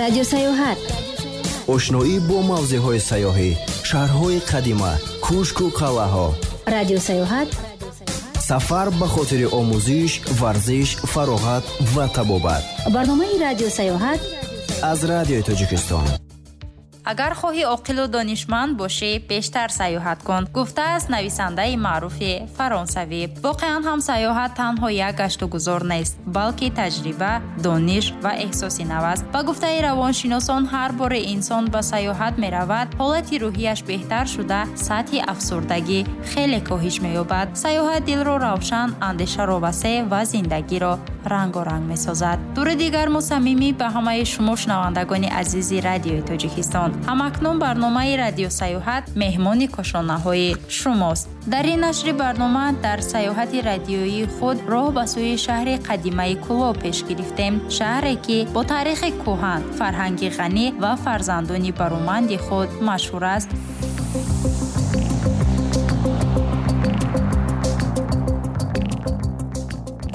Радио Саёҳат. Ошноӣ бо мавзеъҳои сайёҳӣ, шаҳрҳои қадима, кӯшку қалъаҳо. Радио Саёҳат. Сафар ба хотири омӯзиш, варзиш, фароғат ва табобат. Барномаи Радио Саёҳат аз Радиои Тоҷикистон. Агар хоҳӣ оқилу донишманд бошӣ, бештар сайёҳат кун, гуфтааст нависандаи маъруфи фаронсавӣ. Воқеан ҳам сайёҳат танҳо як гашту гузор нест, балки таҷриба, дониш ва эҳсоси нав аст. Ба гуфтаи равоншиносон, ҳар боре инсон ба сайёҳат меравад, ҳолати рӯҳияш беҳтар шуда, сатҳи афсурдагӣ хеле коҳиш меёбад. Сайёҳат дилро равшан, андешаро васеъ ва зиндагиро рангоранг месозад. Дуруди гарму самимӣ ба ҳамаи шумо шунавандагони азизи Радиои Тоҷикистон. Ҳамакнун барномаи Радио Саёҳат меҳмони кошонаҳои шумост. Дар ин нашри барнома дар сайёҳати радиоии худ роҳ ба сӯи шаҳри қадимаи Кӯлоб пеш гирифтем. Шаҳре, ки бо таърихи кӯҳан, фарҳанги ғанӣ ва фарзандони бароманди худ машҳур аст.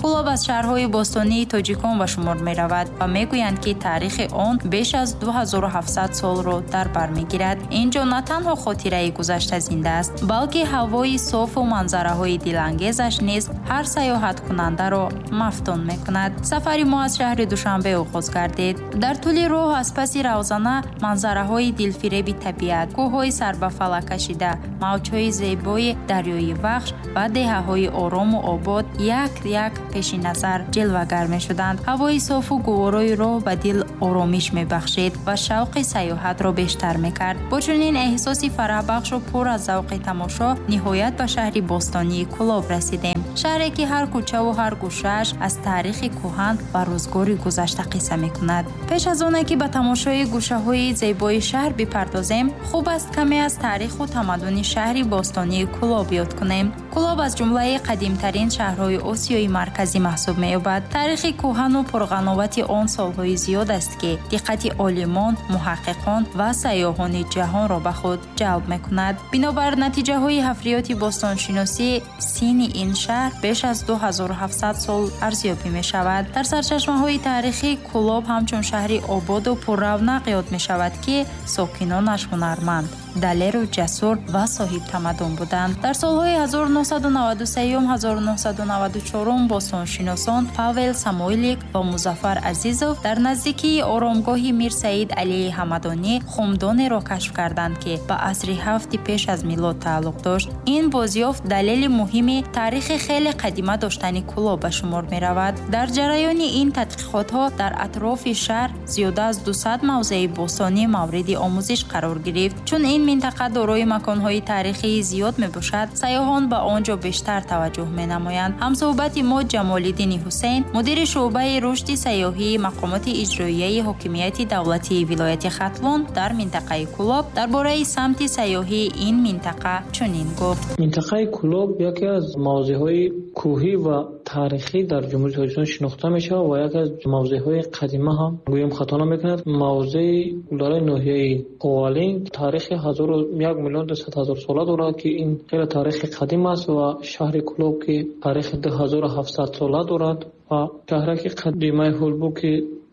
Кӯлоб аз шаҳрҳои бостонии тоҷикон ба шумор меравад ва мегӯянд, ки таърихи он беш аз 2700 солро дар бар мегирад. Ин ҷо на танҳо хотираи гузашта зинда аст, балки ҳавои софу манзараҳои дилангезаш низ ҳар сайёҳаткунандаро мафтун мекунад. Сафари мо аз шаҳри Душанбе оғоз гардид. Дар тӯли роҳ аз паси равзана манзараҳои дилфиреби табиат, кӯҳҳои сарбафалак кашида, мавҷҳои зебои дарёи Вахш ва деҳаҳои орому обод як-як пеши назар ҷилвагар мешуданд. Ҳавои софу гуворои роҳ ба дил оромиш мебахшид ва шавқи сайёҳатро бештар мекард. Бо чунин эҳсоси фараҳбахшу пур аз завқи тамошо ниҳоят ба шаҳри бостонии Кӯлоб расидем. Шаҳре, ки ҳар кӯчаву ҳар гӯшааш аз таърихи кӯҳан ва рӯзгори гузашта қисса мекунад. Пеш аз оне, ки ба тамошои гӯшаҳои зебои шаҳр бипардозем, хуб аст каме аз таъриху тамаддуни шаҳри бостонии Кӯлоб ёд кунем. Кӯлоб аз ҷумлаи қадимтарин шаҳрҳои Осиёи Марказӣ маҳсуб меёбад. Таърихи кӯҳану пурғановати он солҳои зиёд аст, ки диққати олимон, муҳаққиқон ва сайёҳони ҷаҳонро ба худ ҷалб мекунад. Бинобар натиҷаҳои ҳафриёти бостоншиносӣ, синни ин шаҳр беш аз 2700 сол арзёбӣ мешавад. Дар сарчашмаҳои таърихӣ Кӯлоб ҳамчун шаҳри ободу пурравнақ ёд мешавад, ки сокинонаш ҳунарманд, далеру ҷасур ва соҳибтамаддун буданд. Дар солҳои 1993-1994 бостоншиносон Павел Самойлик ва Музаффар Азизов дар наздикии оромгоҳи Мир Саид Алии Ҳамадонӣ хумдонеро кашф карданд, ки ба асри ҳафти пеш аз милод тааллуқ дошт. Ин бозёфт далели муҳими таърихи хеле қадима доштани Кӯлоб ба шумор меравад. Дар ҷараёни ин тадқиқотҳо дар атрофи шаҳр зиёда аз 200 мавзеи бостонӣ мавриди омӯзиш қарор гирифт. Чун ин минтақа дорои маконҳои таърихии зиёд мебошад, сайёҳон ба он ҷо бештар таваҷҷӯҳ менамоянд. Ҳамсӯҳбати мо Ҷамолиддини Ҳусейн, мудири шӯъбаи рушди сайёҳии мақомоти иҷроияи ҳокимияти давлатии вилояти Хатлон дар минтақаи Кӯлоб, дар бораи самти сайёҳии ин минтақа чунин гуфт. Минтақаи Кӯлоб яке аз мавзеъҳои кӯҳӣ ва таърихӣ дар Ҷумҳурии Тоҷикистон шинохта мешавад ва яке аз мавзеъҳои қадима ҳам гӯем хато намекунад. Мавзеи дараи ноҳияи Ховалинг таърихи 1 200 000 сола дорад, ки ин хеле таърихи қадим аст ва шаҳри Кӯлоб, ки таърихи 2700 сола дорад ва шаҳраки қадимаи Ҳулбук, ки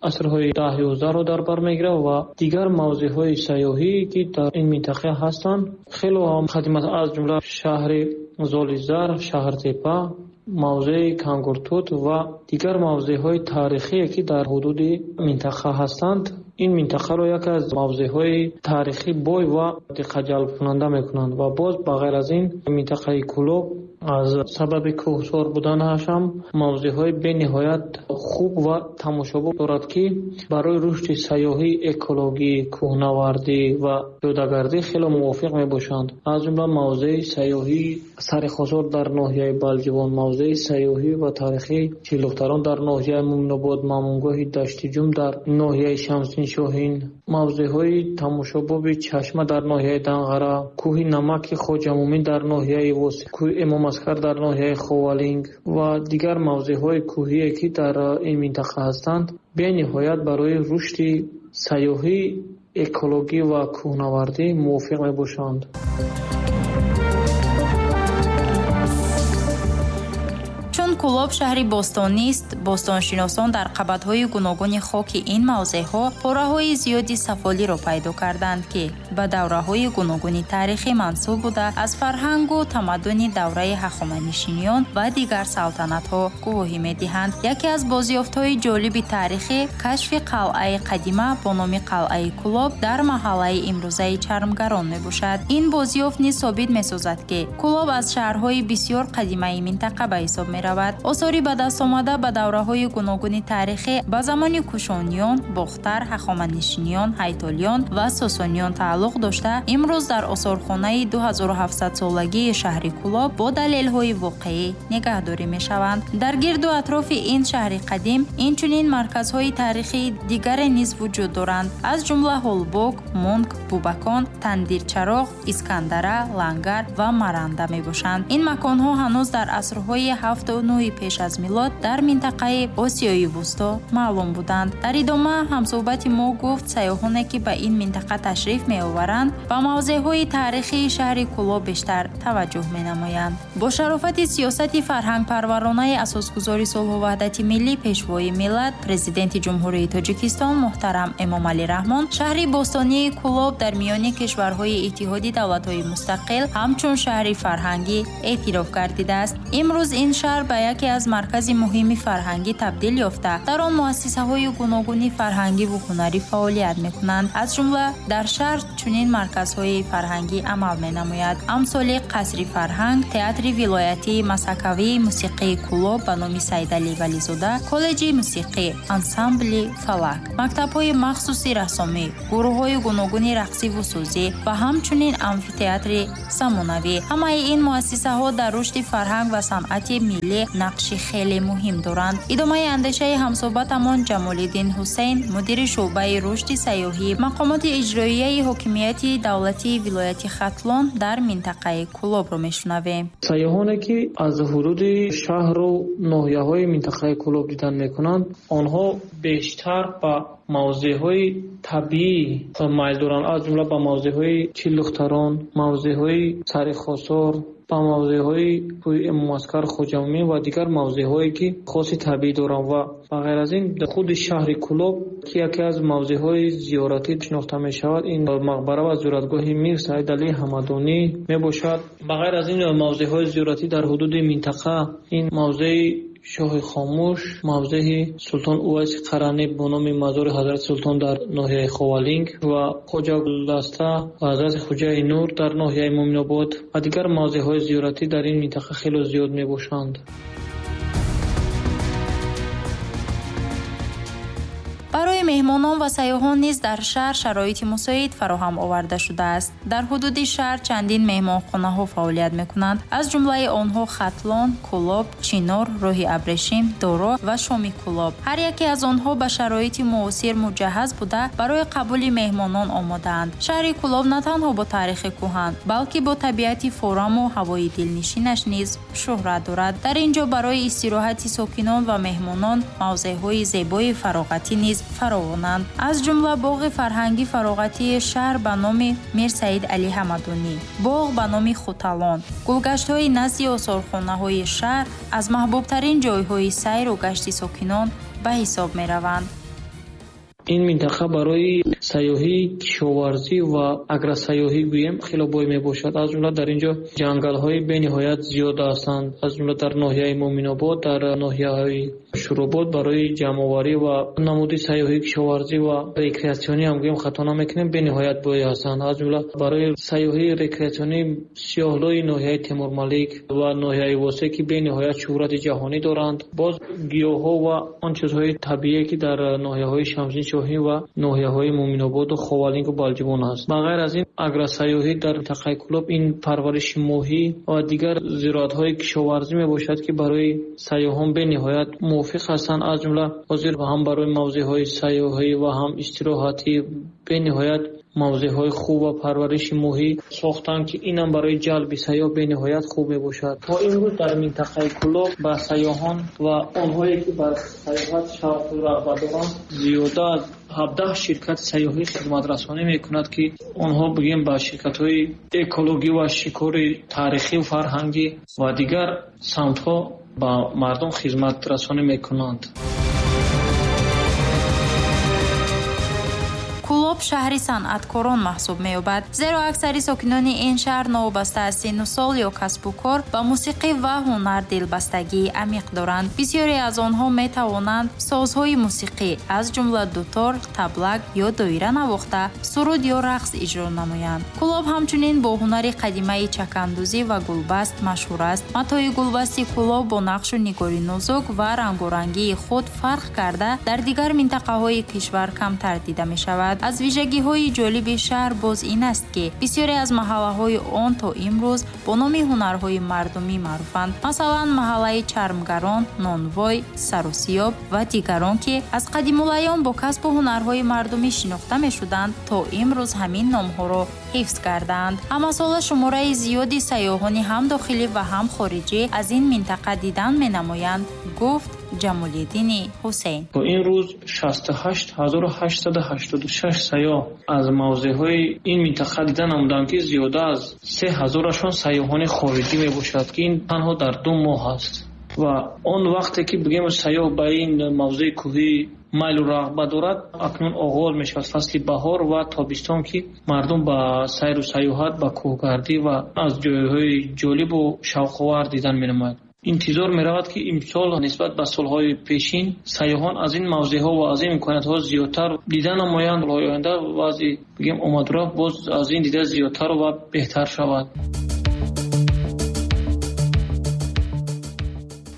асрҳои 10-11-ро дар бар мегирад ва дигар мавзеъҳои сайёҳӣ, ки дар ин минтақа ҳастанд, хеле ҳам қадим аст, аз ҷумла шаҳри Золизар, Шаҳртепа, мавзеи Кангуртут ва дигар мавзеъҳои таърихие, ки дар ҳудуди минтақа ҳастанд. Ин минтақаро яке аз мавзеъҳои таърихӣ бой ва диққатҷалбкунанда мекунанд. Ва боз ба ғайр аз ин минтақаи Кӯлоб аз сабаби кӯҳсор буданаш ҳам мавзеъҳои бениҳоят хуб ва тамошобоб дорад, ки барои рушди сайёҳӣ, экологӣ, кӯҳнавардӣ ва пиёдагардӣ хеле мувофиқ мебошанд. Аз ҷумла мавзеи сайёҳии Сари Хосор дар ноҳияи Балҷувон, мавзеи сайёҳӣ ва таърихии Чилдухтарон дар ноҳияи Мӯминобод, Мамунгоҳи Даштиҷум дар ноҳияи Шамсиддин Шоҳин, мавзеъҳои тамошобоби Чашма дар ноҳияи Данғара, кӯҳи Намаки Хоҷамӯмин дар ноҳияи Восеъ, кӯҳи Эмом Аскар дар ноҳияи Ховалинг ва дигар мавзеъҳои кӯҳие, ки дар ин минтақа ҳастанд, бениҳоят барои рушди сайёҳӣ, экологӣ ва кӯҳнавардӣ мувофиқ мебошанд. Чун Кӯлоб шаҳри бостонист, бостоншиносон дар қабатҳои гуногуни хоки ин мавзеъҳо пораҳои зиёди сафолиро пайдо карданд, ки ба давраҳои гуногуни таърихӣ мансуб буда, аз фарҳангу тамаддуни давраи ҳахоманишиён ва дигар салтанатҳо гувоҳӣ медиҳанд. Яке аз бозёфтҳои ҷолиби таърихӣ кашфи қалъаи қадима бо номи қалъаи Кӯлоб дар маҳаллаи имрӯзаи Чармгарон мебошад. Ин бозёфт низ собит месозад, ки Кӯлоб аз шаҳрҳои бисёр қадимаи минтақа ба ҳисоб меравад. Осори ба даст омада ба давраҳои гуногуни таърихӣ ба замони Кушониён, Бохтар, Ҳахоманишиён, Ҳайтолиён ва Сосониён тааллуқ дошта, имрӯз дар осорхонаи 2700-солагии шаҳри Кӯлоб бо далелҳои воқеӣ нигаҳдорӣ мешаванд. Дар гирду атрофи ин шаҳри қадим инчунин марказҳои таърихии дигаре низ вуҷуд доранд, аз ҷумла Ҳолбок, Мунг, Бубакон, Тандирчароғ, Искандара, Лангар ва Маранда мебошанд. Ин маконҳо ҳанӯз дар асрҳои 7 ва 9 пеш аз милод дар минтақаи Осиёи Вусто маълум буданд. Дар идома ҳамсӯҳбати мо гуфт, сайёҳоне ки ба ин минтақа ташриф меоваранд, ба мавзеъҳои таърихии шаҳри Кӯлоб бештар таваҷҷӯҳ менамоянд. Бо шарофати сиёсати фарҳангпарваронаи асосгузори сулҳу ваҳдати миллӣ, Пешвои миллат, Президенти Ҷумҳурии Тоҷикистон муҳтарам Эмомалӣ Раҳмон, шаҳри бостонии Кӯлоб дар миёни кишварҳои Иттиҳоди Давлатҳои Мустақил ҳамчун шаҳри фарҳангӣ эътироф гардидааст. Имрӯз ин шаҳр ба яке аз маркази муҳими фарҳангӣ табдил ёфта, дар он муассисаҳои гуногуни фарҳангиву ҳунарӣ фаъолият мекунанд. Аз ҷумла дар шаҳр чунин марказҳои фарҳангӣ амал менамояд: амсоли Қасри фарҳанг, Театри вилоятии масхакавии мусиқии Кӯлоб ба номи Саидалӣ Вализода, Коллеҷи мусиқӣ, ансамбли «Фалак», мактабҳои махсуси рассомӣ, гурӯҳҳои гуногуни рақсиву сӯзӣ ва ҳамчунин амфитеатри замонавӣ. Ҳамаи ин муассисаҳо дар рушди фарҳанг ва санъати миллӣ нақши хеле муҳим доранд. Идомаи андешаи ҳамсӯҳбатамон Ҷамолиддин Ҳусейн, мудири шӯъбаи рушди сайёҳӣ мақомоти иҷроияи ҳокимияти давлатии вилояти Хатлон дар минтақаи Кӯлобро мешунавем. Сайёҳоне ки аз ҳудуди шаҳру ноҳияҳои минтақаи Кӯлоб дидан мекунанд, онҳо бештар ба мавзеъҳои табиӣ майл доранд, аз ҷумла ба мавзеъҳои Чилдухтарон, мавзеъҳои Сари Хосор, ба мавзеъҳои кӯҳи Эмомаскар Хоҷамӯмин ва дигар мавзеъҳое ки хоси табиӣ доранд. Ва ба ғайр аз ин, худи шаҳри Кӯлоб, ки яке аз мавзеъҳои зиёратӣ шинохта мешавад, ин мақбара ва зиёратгоҳи Мир Саид Алии Ҳамадонӣ мебошад. Ба ғайр аз ин, мавзеъҳои зиёратӣ дар ҳудуди минтақа ин мавзеи Шоҳи Хомӯш, мавзеи Султон Увайси Қаранӣ бо номи мазори Ҳазрати Султон дар ноҳияи Ховалинг ва Хоҷа Гулдаста ва Ҳазрати Хоҷаи Нур дар ноҳияи Мӯминобод ва дигар мавзеъҳои зиёратӣ дар ин минтақа хеле зиёд мебошанд. Барои меҳмонон ва сайёҳон низ дар шаҳр шароити мусоид фароҳам оварда шудааст. Дар ҳудуди шаҳр чандин меҳмонхонаҳо фаъолият мекунанд, аз ҷумлаи онҳо Хатлон, Кӯлоб, Чинор, Роҳи Абрешим, Доро ва Шоми Кӯлоб. Ҳар яке аз онҳо ба шароити муосир муҷаҳҳаз буда, барои қабули меҳмонон омодаанд. Шаҳри Кӯлоб на танҳо бо таърихи кӯҳан, балки бо табиати фораму ҳавои дилнишинаш низ шӯҳрат дорад. Дар ин ҷо барои истироҳати сокинон ва меҳмонон мавзеъҳои зебои фароғатӣ низ фаровонанд, аз ҷумла боғи фарҳангӣ фароғатии шаҳр ба номи Мир Саид Алӣ Ҳамадонӣ, боғ ба номи Хуталон, гулгаштҳои назди осорхонаҳои шаҳр аз маҳбубтарин ҷойҳои сайру гашти сокинон ба ҳисоб мераванд. Ин минтақа барои сайёҳии кишоварзӣ ва агросайёҳӣ гӯем хеле бой мебошад. Аз ҷумла дар ин ҷо ҷангалҳои бениҳоят зиёд ҳастанд, аз ҷумла дар ноҳияи Мӯминобод, дар ноҳияҳои Шӯробод барои ҷамъоварӣ ва намуди сайёҳии кишоварзӣ ва рекреатсионӣ ҳам гӯем хато намекунем, бениҳоят бой ҳастанд. Аз ҷумла барои сайёҳии рекреатсионӣ Сиёҳлои ноҳияи Темурмалик ва ноҳияи Восе, ки бениҳоят шӯҳрати ҷаҳонӣ доранд. Боз гиёҳҳо ва он чизҳои табиие, ки дар ноҳияҳои Шамсиддин Шоҳин ва ноҳияҳои Мӯминободу Ховалингу Балҷувон ҳаст. Ба ғайр аз ин, агросайёҳӣ дар минтақаи Кӯлоб ин парвариши моҳӣ ва дигар зироатҳои кишоварзӣ мебошад, ки барои сайёҳон бениҳоят мувофиқ ҳастанд. Аз ҷумла ҳозир ҳам барои мавзеъҳои сайёҳӣ ва ҳам истироҳатӣ бениҳоят мавзеъҳои хуб ва парвариши моҳӣ сохтанд, ки инам барои ҷалби сайёҳ бениҳоят хуб мебошад. То имрӯз дар минтақаи Кӯлоб ба сайёҳон ва онҳое ки ба сайёҳат шавқу рағбат доранд, зиёда аз 17 ширкати сайёҳӣ хизматрасонӣ мекунад, ки онҳо бигӯем ба ширкатҳои экологӣ ва шикори таърихию фарҳангӣ ва дигар самтҳо. ба мардум хизматрасонӣ мекунанд. Кӯлоб шаҳри санъаткорон маҳсуб меёбад, зеро аксари сокинони ин шаҳр новобаста аз синну сол ё касбу кор ба мусиқӣ ва ҳунар дилбастагии амиқ доранд. Бисёре аз онҳо метавонанд созҳои мусиқӣ, аз ҷумла дутор, таблак ё доира навохта, суруд ё рақс иҷро намоянд. Кӯлоб ҳамчунин бо ҳунари қадимаи чакандӯзӣ ва гулбаст машҳур аст. Матои гулбасти Кӯлоб бо нақшу нигори нозук ва рангорангии худ фарқ карда, дар дигар минтақаҳои кишвар камтар дида мешавад. Аз вижагиҳои ҷолиби шаҳр боз ин аст, ки бисёре аз маҳаллаҳои он то имрӯз бо номи ҳунарҳои мардумӣ маъруфанд. Масалан, маҳаллаи чармгарон, нонвой, саросиёб ва дигарон, ки аз қадимулайём бо касбу ҳунарҳои мардумӣ шинохта мешуданд, то имрӯз ҳамин номҳоро ҳифз кардаанд. Ҳамасола шумораи зиёди сайёҳони ҳам дохилӣ ва ҳам хориҷӣ аз ин минтақа дидан менамоянд, гуфт Ҷамолиддини Ҳусейн. То ин рӯз 68886 сайёҳ аз мавзеъҳои ин минтақа дида намуданд, ки зиёда аз 3000-ашон сайёҳони хориҷӣ мебошад, ки ин танҳо дар 2 моҳ аст. Ва он вақте ки бигем сайёҳ ба ин мавзеи кӯҳӣ майлу рағбат дорад, акнун оғоз мешавад фасли баҳор ва тобистон, ки мардум ба сайру сайёҳат, ба кӯҳгардӣ ва аз ҷойҳои ҷолибу шавқовар дидан менамояд. Интизор меравад, ки имсол нисбат ба солҳои пешин сайёҳон аз ин мавзеъҳо ва аз ин имкониятҳо зиёдтар дида намоянд. Солҳои оянда вазъи бигем омадурафт боз аз ин дида зиёдтар ва беҳтар шавад.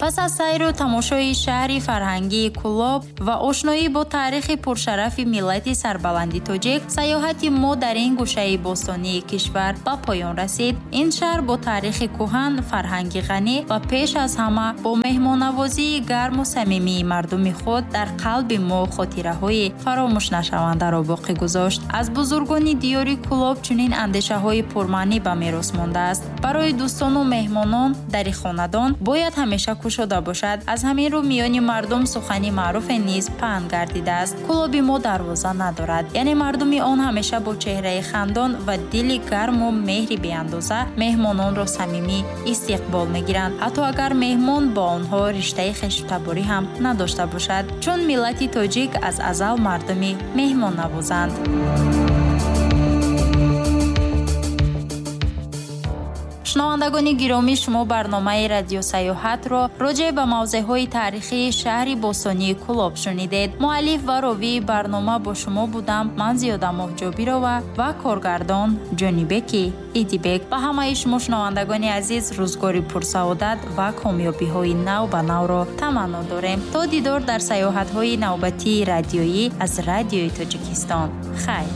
Пас аз сайру тамошои шаҳри фарҳангии Кӯлоб ва ошноӣ бо таърихи пуршарафи миллати сарбаланди тоҷик, сайёҳати мо дар ин гӯшаи бостонии кишвар ба поён расид. Ин шаҳр бо таърихи кӯҳан, фарҳанги ғанӣ ва пеш аз ҳама бо меҳмоннавозии гарму самимии мардуми худ дар қалби мо хотираҳои фаромӯшнашавандаро боқӣ гузошт. Аз бузургони диёри Кӯлоб чунин андешаҳои пурмаънӣ ба мерос мондааст. Барои дӯстону меҳмонон дари хонадон бояд ҳамеша кушода бошад. Аз ҳамин рӯ миёни мардум сухани маъруфе низ паҳн гардидааст. Кӯлоби мо дарвоза надорад, яъне мардуми он ҳамеша бо чеҳраи хандон ва дили гарму меҳри беандоза меҳмононро самимӣ истиқбол мегиранд, ҳатто агар меҳмон бо онҳо риштаи хештаборӣ ҳам надошта бошад, чун миллати тоҷик аз азал мардуми меҳмоннавозанд. Шунавандагони гиромӣ, шумо барномаи радиосаёҳатро роҷеъ ба мавзеъҳои таърихии шаҳри бостонии Кӯлоб шунидед. Муаллиф ва ровии барнома бо шумо будам ман, Зиёда Моҳҷобирова, ва коргардон Ҷонибеки Идибек. Ба ҳамаи шумо шунавандагони азиз рӯзгори пурсаодат ва комёбиҳои нав ба навро таманно дорем. То дидор дар сайёҳатҳои навбатии радиоӣ аз Радиои Тоҷикистон. Хайр.